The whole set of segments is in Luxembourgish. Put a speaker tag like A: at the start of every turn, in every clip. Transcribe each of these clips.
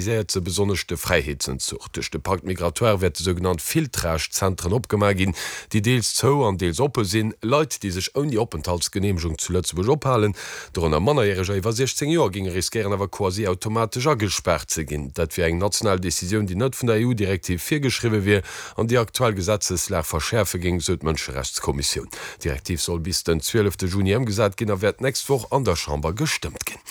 A: viséiert se besonnesch de Fräiheetsenzuch. Duerch de Pacte migratoire wäerte sougenannt Filtrage-Zentren opgemaach ginn, déi deels zou an deels oppe sinn. Leit, déi sech ouni Openthaltsgeneemegung zu Lëtzebuerg ophalen, dorënner Mannerjäreger iwwer 16 Joer, géinge riskéieren awer quasi automatesch agespaart ze ginn. Dat wier eng national Decisioun, déi net vun der EU-Direktiv virgeschriwwe wier an déi aktuell Gesetzeslag verschäerfe géing, sou d'Mënscherechtskommissioun. D'Direktiv soll bis den 12 Juni ëmgesat ginn a wäert d'nächst Woch an der Chamber gestëmmt ginn.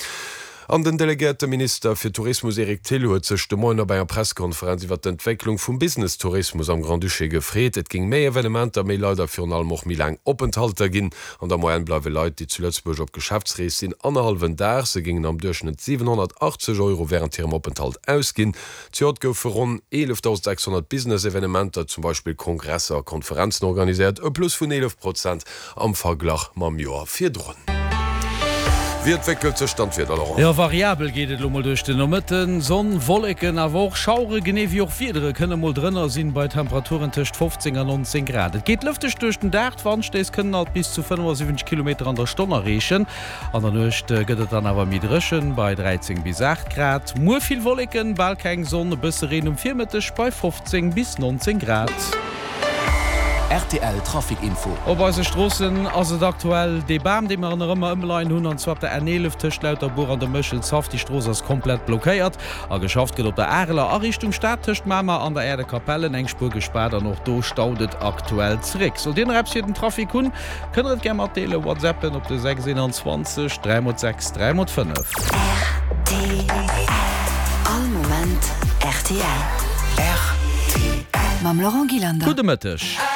A: An den delegéierte Minister fir Tourismus Eric Thill huet sech de Moien op enger Presskonferenz iwwer d'Entwécklung vum Business-Tourismus am Grand-Duché gefreet. Et géing méi Evenementer, méi Leit a virun allem och méi laang Openthalter ginn. An der Moyenne bleiwe Leit, déi zu Lëtzebuerg op Geschäftsrees sinn, annerhallwen Dag. Se géingen am Duerchschnëtt 780 Euro wärend hirem Openthalt ausginn. Zejoert goufe ronn 11.600 Business-Evenementer, zum Beispill Kongresser a Konferenzen, organiséiert, e Plus vun 11 Prozent am Verglach mam Joer virdrun. Wéi entwéckelt sech dann d'Wieder, Laurent?
B: Jo, variabel geet et elo mol duerch den Nomëtten. Sonn, Wolleken, awer och Schauere genee wéi och Wiedere kënne mol drënner sinn, bei Temperaturen tëscht 15 a 19 Grad. Et geet lëfteg duerch den Dag, d'Wandstéiss kënnen alt bis zu 75 Kilometer an der Stonn erreechen. An der Nuecht gëtt et dann awer méi dréchen, bei 13 bis 8 Grad. Muer vill Wolleken, bal keng Sonn, e bësse Reen um Virmëtteg bei 15 bis 19 Grad.
C: Rtl Trafic Info.
B: Op eise Stroossen ass et aktuell dee Bam, dee mer nach ëmmer ëmleien hunn, an zwar op der N11 tëscht Lauterbuer an dem Méchelshaff. Déi Strooss ass komplett blockéiert a geschafft gëtt op der Areler a Richtung Stad tëscht Mamer an der Äerdekapellen. Eng Spuer gespaart an och do staut et aktuell zeréck. Sollt Dir nach eppes fir den Trafic hunn, Kënnt der et gär matdeelen, WhatsAppen op de 6 21 3 x 6 3 x 5.
D: Rtl. All Moment rtl.
C: Rtl.
D: Mam Laurent Gillander.
B: Gudde Mëtteg.